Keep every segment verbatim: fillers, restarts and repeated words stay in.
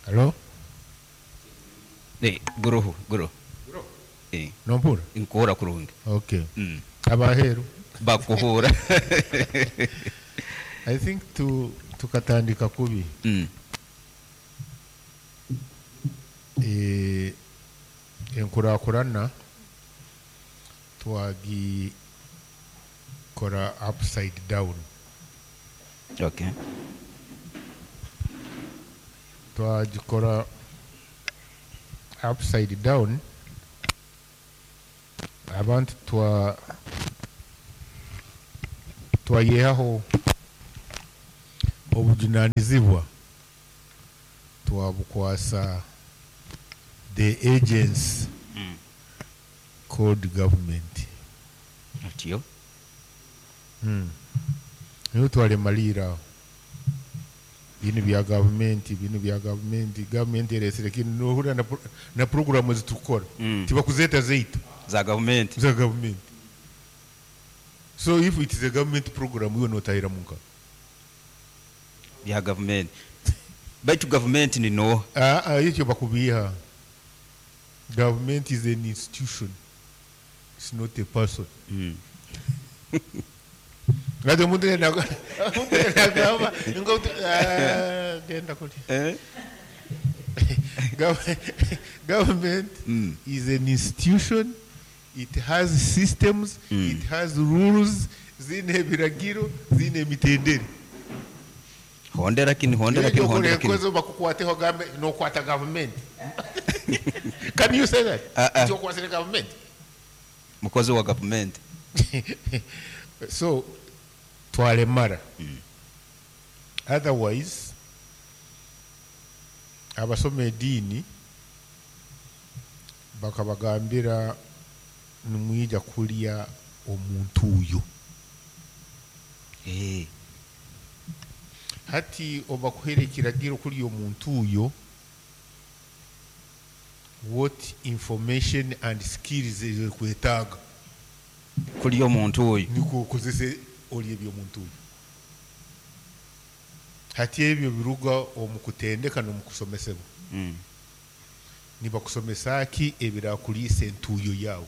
Halo? Eh, guruhu guruhu. Eh, Nompura? Nkuhura kurungi. Okay. Mm. Abaheru. Bakuhura. I think tu tukatandika kubi. Mm. Eh, enkurakurana twagikora upside down. Okay. Twagikora upside down, abantu twa twayehaho obujunanizibwa, twabukwasa the agents Mm. called government. Atiyo. Mm. Niho twaremalira aho. Binu bya gavumenti, binu bya gavumenti, gavumenti eresire kinu nohurira na, pro- na programu zitukora Mm. tibakuzeeta zeitu Za gavumenti. za gavumenti. So if it is a government program, iwe notahira munka. Bya gavumenti. Baitu gavumenti ni no. Ah, ah, ekyo bakubiha. Government is an institution, it's not a person. Mm. Ngati omuntu yena omuntu yena agamba ngo ah, genda kuli. Eh? Gov- Government Mm. is an institution. It has systems. Mm. It has rules. Zine ebiragiro, zine emitendere. Hondera kini, hondera kini, hondera kini. Ekyokoze bakukwateho gambe nokwata government. Can you say that? Ah, ah. Ekyokwasire government. Mukozi wa gavumenti. So twalemara. Mm. Otherwise abasoma ediini bakabagambira nimwija kulya omuntu uyo. Eh. Hati obakuhere ekiragiro kulya omuntu uyo, what information and skills ezokwetaaga Kulya omuntu oyo. nikwo okozese olya ebyomuntu oyo. Hati ebyo biruga omu kutendeka n'omu kusomesebwa. Mm. Nibakusomesa ki ebirakuliisa entuuyo yaawe?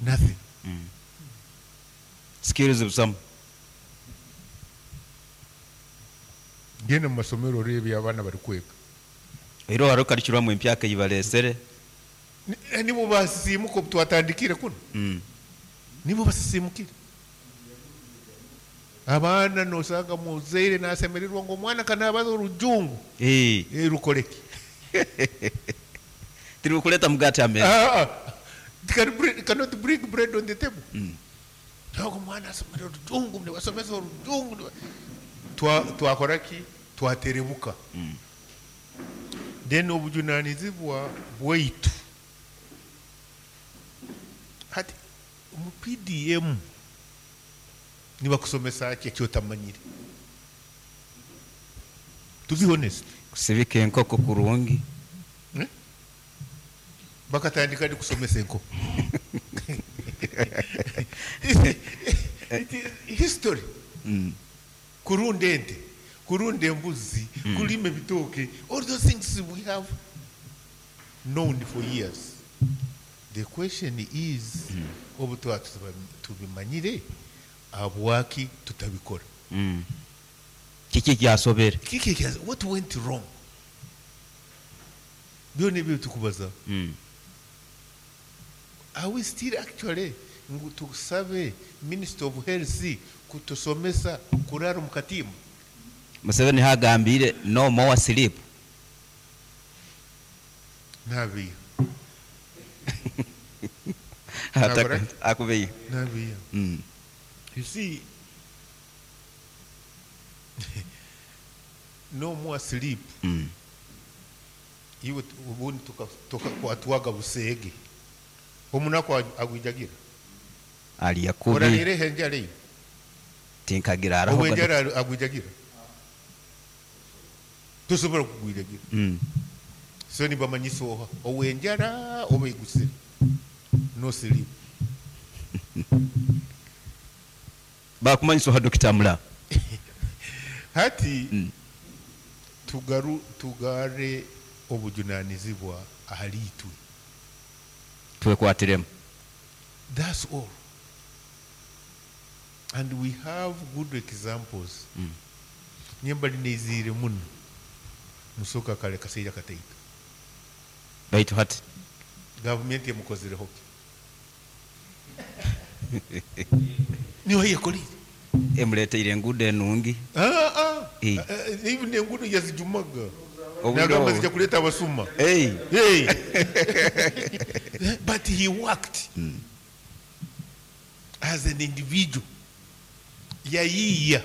Nothing. Mm. Skills busamu. Genda mu masomero oreebe abaana barikwega. Ero hariho curriculum empyaka ei bareesere. Ni- eh, nibo basisiimuka obu twatandikire kuno. Mm. Nibo basisimukire. Abaana nosanga muzaire nasemererwa ngu omwana kanabaza orujungu. Eh. Eh, rukoreki? Tirikuleta mugati ameza. Ah, ah. It can bring, it cannot bring bread on the table. Mm. Ntabwo omwana asomera orujungu, nibasomesa orujungu. niba- Twa- twakora ki? Twaterebuka. Mm. Then obujunanizibwa bwaitu hati mu P D M nibakusomesa ki ekyotamanyire? To be honest. Kusibika enkoko kurungi. Eh? Bakatandika ndi kusomesa enkoko. It is history. Mm. Kurunda ente, kurunda embuzi, Mm. kulima ebitooke, all those things we have known for years. The question is, Mm. obu tuba tubimanyire, abwaki tutabikora? Mm. Kiki ekyasobere? Kiki ekya, what went wrong? Byona ebyo tukubaza. Mm. Are we still actually ngu tusabe Minister of Health kutusomesa kurara omu katimba? Museveni hagambire no more sleep. Nabiya. Ataka- Akubiya. Nabiya. Mm. You see, no more sleep. Mm. Iwe ubundi tukakwatwaga buseege. Omunaku agwijagira. Aliya kubi. Orarire henjara eyo. Tinkagira araho. Obwenjara agwijagira. Tosobola kugwijagira. Mm. So nibamanyisa oha owenjara oba egusire. No sleep. Bakumanyisa oha Dokita Mula. Hati Mm. Tugaru tugare obujunanizibwa ahali itwe. Twekwatiremu. That's all. And we have good examples. Mm. Nyembali neizire muno. Musoka kale kaseija kataito. Baitu hati Gavumenti emukozireho ki? Niyo yekolire. Emuleteire enguudo enungi. Ah ah. Eh. Eh, even enguudo yazijumaga. Obudde Nagamba obwo. zijja kuleeta abasuma. Hey. Hey. But he worked as an individual. Yayiiya.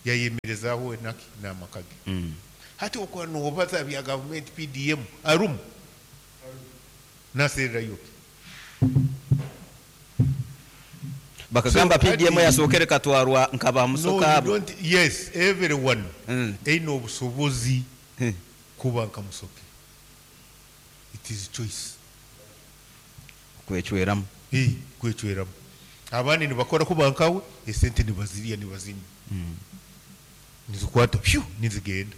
Yayemerezaaho enaki n'amaka ge. Mm. Hati okuba noobaza bya gavumenti P D M arumu nasererayo ki? Bakagamba So, P D M hati- yasookere katwarwa nkaba No, musoka you abo. don't, yes, everyone Mm. eine obusobozi Hmm. kuba nka Musoke. It is choice. Kwecweramu. Eh, kwecweramu. Abandi nibakora kuba nkawe, esente nibazirya, nibazinywa, Mm. nizikwata pyu nizigenda.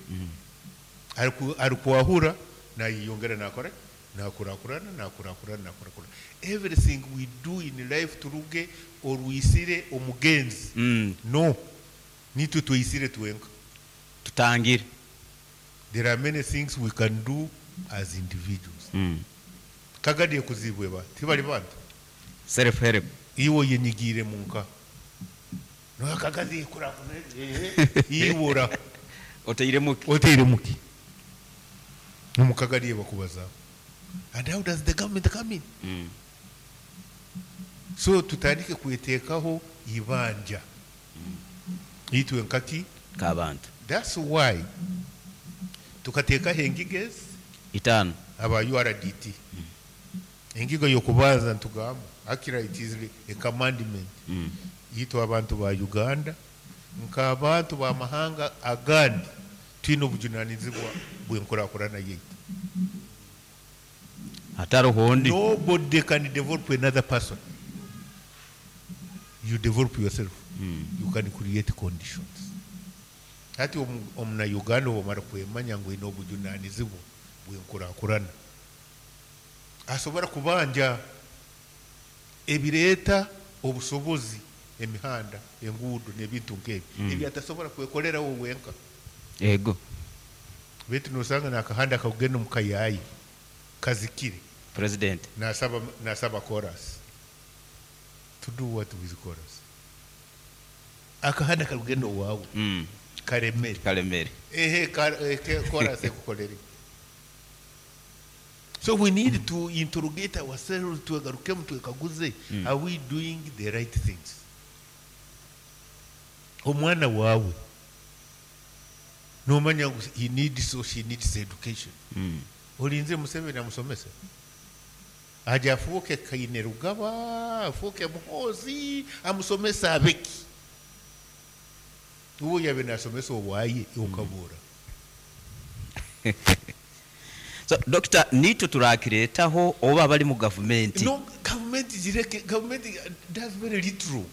Ariku- arikwahura nayeyongera, nakora, nakurakurana, nakurakurana, nakurakurana. Everything we do in life, turuge orwisire omugenzi. Mm. No, nitwe tweyisire twenka. Tutangire. There are many things we can do as individuals. Mm. Kagadiye kuzibwe ba tibali bantu. Self help. Iwe yenyigiire munka nokagazi iwora. Oteiremu ki? Oteire muki omukagadiye bakubaza, and how does the government come in? Mm. So tutandike kweteekaho ibanja itwe nkaki K'abantu. That's why tukateekaho engiga ezi Itaano. Aba U R D T, engiga yokubanza ntugamba akira it is a commandment Mm. yitwa abantu ba Uganda nk'abantu b'amahanga agandi twine obujunanizibwa bw'enkurakurana yaitu. Hataroho ondi. Nobody can develop another person. You develop yourself. Mm. You can create conditions. Hati omu- omunauganda obwamara kwemanya ngu ine obujunanizibwa bw'enkurakurana, asobora kubanja ebireeta obusobozi, emihanda, enguudo n'ebintu nk'ebyo Mm. ebyo atasobora kwekolerawo wenka. Ego. Baitu nosanga nakahanda akagenda omu kayayi kazikire. President. Nasaba nasaba chorus to do what with chorus? Akahanda karugenda owawe Mm. karemere. Kalemere. Ehe, kar- eh, ke- chorus ekukolere. So we need to interrogate ourselves, twegarukemu, twekaguze, Mm. are we doing the right things? Omwana wawe nomanya ngu he needs or she needs education, Mm. olinze Museveni amusomese aja afuuke Kaine Rugaba, afuuke Muhozi, amusomese abeki? Uwo yabe nasomesa obwaye okabura. So Doctor, nitwe turakireetaho oba bali mu gavumenti? No, gavumenti zireke. Gavumenti does very little.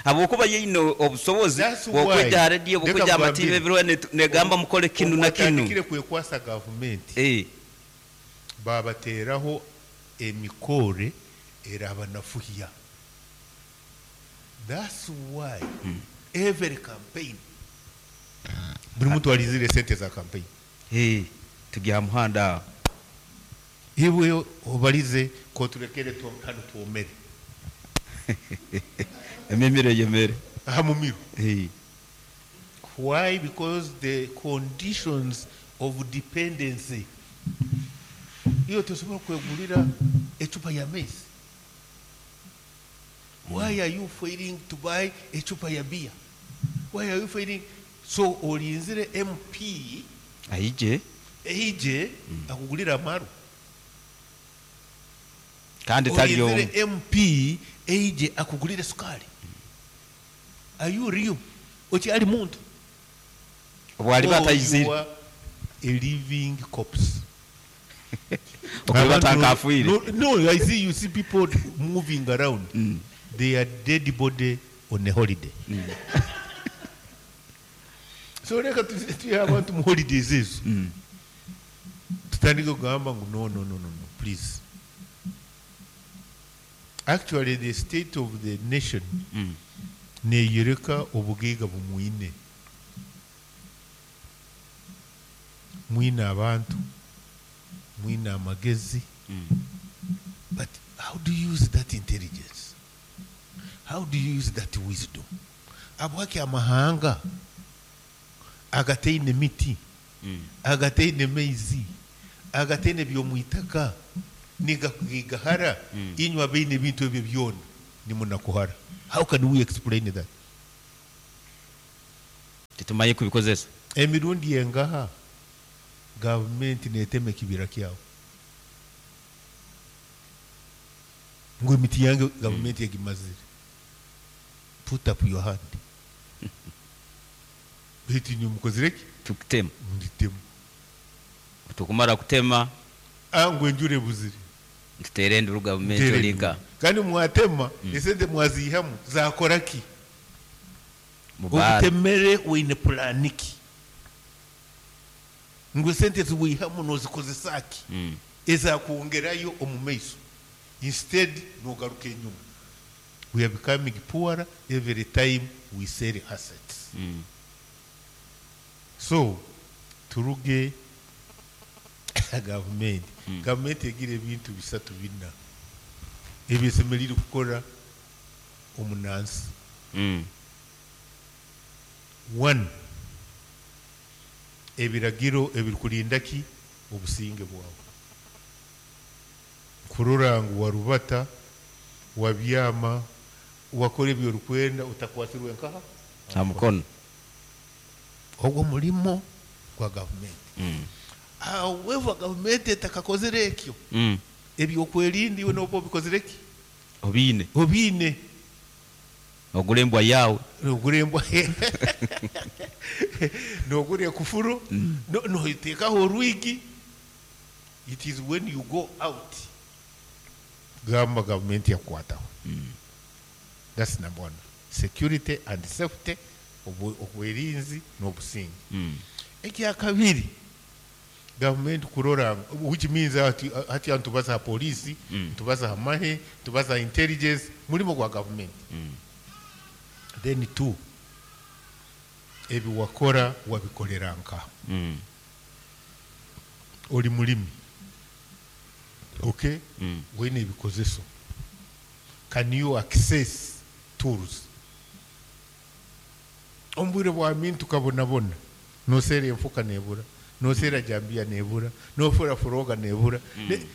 Habwokuba yeine obusobozi That's why. bwokwejja rediyo, Leka bwokwejja amativi nkugambire. ebiriho ne- negamba mukole kinu na kinu. Otandikire kwekwasa gavumenti, Eh, babateeraho emikore erabanafuhya. That's why every campaign buli muntu alizire sente za campaign. Eh, tugya muhanda aho. Iwe obalize koturekere tu- hano twomere. Emimiro yemere. Aha mumiro. Eh, Why? Because the conditions of dependency, iyo tosobola kwegulira ecupa ya maize. Why are you failing to buy ecupa ya beer? Why are you failing? So olinzire M P aije eije akugulira amaru? Kandi tali omu. Olinzire M P eije akugulire sukali? Are you real? Okyali muntu? Obwali Or batayizire. you are a living corpse. Okuba Abantu- tankafuire. No, no, I see, you see people moving around. Mm. They are dead body on a holiday. So reka tuhe abantu mu holidays ezo, tutandike kugamba ngu no no no no no please. Actually, the state of the nation Mm. neyereka obugaiga bumwine. Mwine abantu, mwine amagezi. Mm. But how do you use that intelligence? How do you use that wisdom? Abwaki amahanga agataine miti, Mm. agataine maizi, agataine by'omwitaka, nigahara, Mm. inywe abaine ebintu ebyo byona nimunakuhara. How can we explain that? Tetumanyi kubikozesa. Emirundi engaha gavumenti netema ekibira kyawe ngu emiti yange gavumenti egimazire. Put up your hand. Baitu inywe mukozire ki? Tukutema. Nditema. Tukumara kutema, Ah, ngu enjura ebuzire. tutere enduru gavumenti Mutere olinka. enduru. Kandi mwatema, esente mwaziihamu zakora ki? Mubaara. Obutemere oine pulaani ki? Ngu esente ziwihamu nozikozesa ki? Mm. Ezakwongerayo omu maiso. Instead nogaruka enyuma. We are becoming poorer every time we sell assets. Mm. So turuge gavumenti. Mm. Gavumenti egira ebintu bisatu bina ebyesemerire kukora omunansi. Mm. One, ebiragiro ebirikurinda ki obusinge bwawe. Kurora ngu warubata, wabyama, wakora ebyorikwenda utakwasirwe nkaha Ha mukono. Ogwo mulimo gwa gavumenti. Mm. However, gavumenti etakakozire ekyo, Mm. ebyokwerinda iwe noba obikozire ki? Obiine. Obiine. Ogura embwa yawe. Nogura embwa, nogura ekufuru, no- noteekaho orwigi. It is when you go out gamba gavumenti yakukwataho. That's number one, security and safety, obu- obwerinzi n'obusinge. Mm. Ekyakabiri, gavumenti kurora, which means hati hati ntubaza ha polisi, Mm. ntubaza ha mahe, ntubaza ha intelligence, mulimo gwa gavumenti. Mm. Then two, ebi wakora wabikolera nka? Mm. Oli mulimi, okay? Mm. Wine ebikozeso, can you access tools? Omu bwire bwa mintu kabonabona, noseera enfuka nebura, noseera jambiya nebura, nofura furoga nebura. Ne-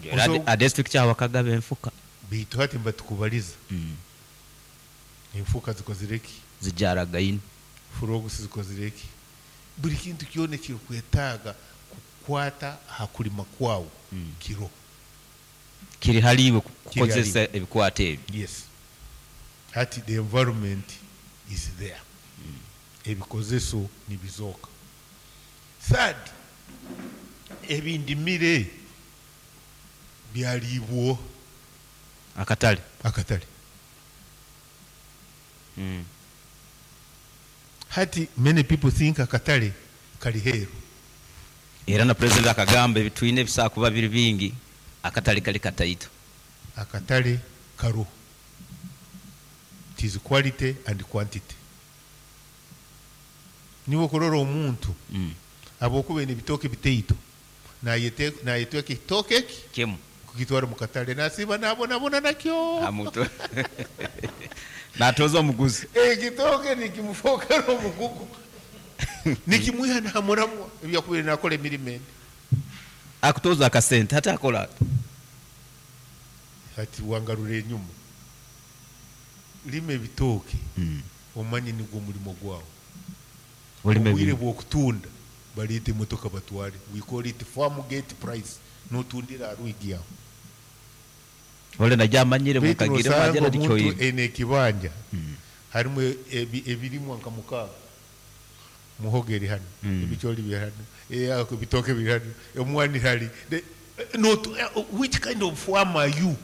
Era Oso- a district kyawe akagaba enfuka. Baitu hati mbatukubaliza, Mm. enfuka zikozire ki? Zijaragaine. Furogusi zikozire ki? Buli kintu kyona ekirikwetaaga kukwata aha kulima kwawe Mm. kiro. Kiri haliiwe Kiri kukozesa ebikwato ebyo. Yes, hati the environment is there, ebikozeso nibizooka. Third, ebindimire byaliibwo. Akatale. Akatale. Mm. Hati many people think akatale kali heeru. Era na president akagamba ebitwine ebisaa kuba biri bingi, akatale kali kataito. Akatale karo. It is quality and quantity. Niwe okurora omuntu Mm. habwokuba ine ebitooke bitaito, nayete- nayetweka ekitooke eki Kimu. kukitwara mu katale, nasiba nabonabona nakyo. Amuto natoza omuguzi. Ekitooke nikimufokera omugugu, nikimwiha namuramwa ebyakubire nakora emirimo endi. Akutoza akasente hati akola ati. Hati wangarura enyuma, lima ebitooke, Mm. omanye nigwo omulimo gwawe. Olime Obwire bino. bw'okutunda, baleeta emotoka batware. We call it farm gate price, notundira aha rwigi aho. Ole najamanyire. Baitu Mukagire nosanga mwagera omuntu dikyoyire. ene ekibanja harimu ebi- ebirimwa nka mukaaga, muhogo eri hano, Mm. ebicooli biri hano, eh, ako ebitooke biri hano, omwani hari. The- eh, not, eh, which kind of farm are you?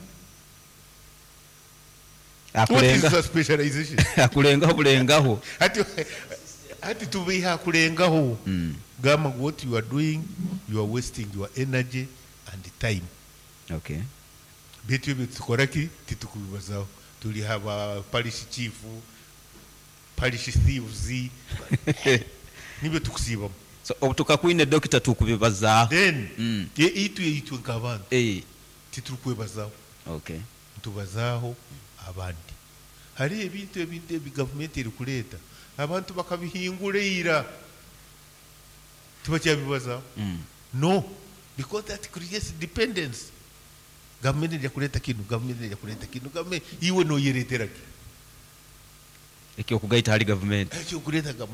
What is Akulenga the specialization? Akulengaho bulengaho. Hati Hati tubeiha kurengaho. Mm. Gamba ngu what you are doing, you are wasting your energy and time. Okay. Beitu ebyo tukora ki? Titukubibazaho. Turi haba parish chief, parish thieves, nibyo tukusiibamu. So obu tukakwine dokita tukubibazaaho. Then Mm. e- itwe itwe nk'abantu Eh, titurikwebazaho. Okay. Ntubazaaho abandi. Hariho ebintu ebindi ebi gavumenti erikureeta, abantu bakabihingura ira, tibakyabibazaho. Mm. No, because that creates dependence. Gavumenti ejja kureeta kinu, gavumenti ejja kureeta kinu, gavumenti, iwe noyereetera ki? Ekyokugaita hali gavumenti. Ekyokureeta gavumenti.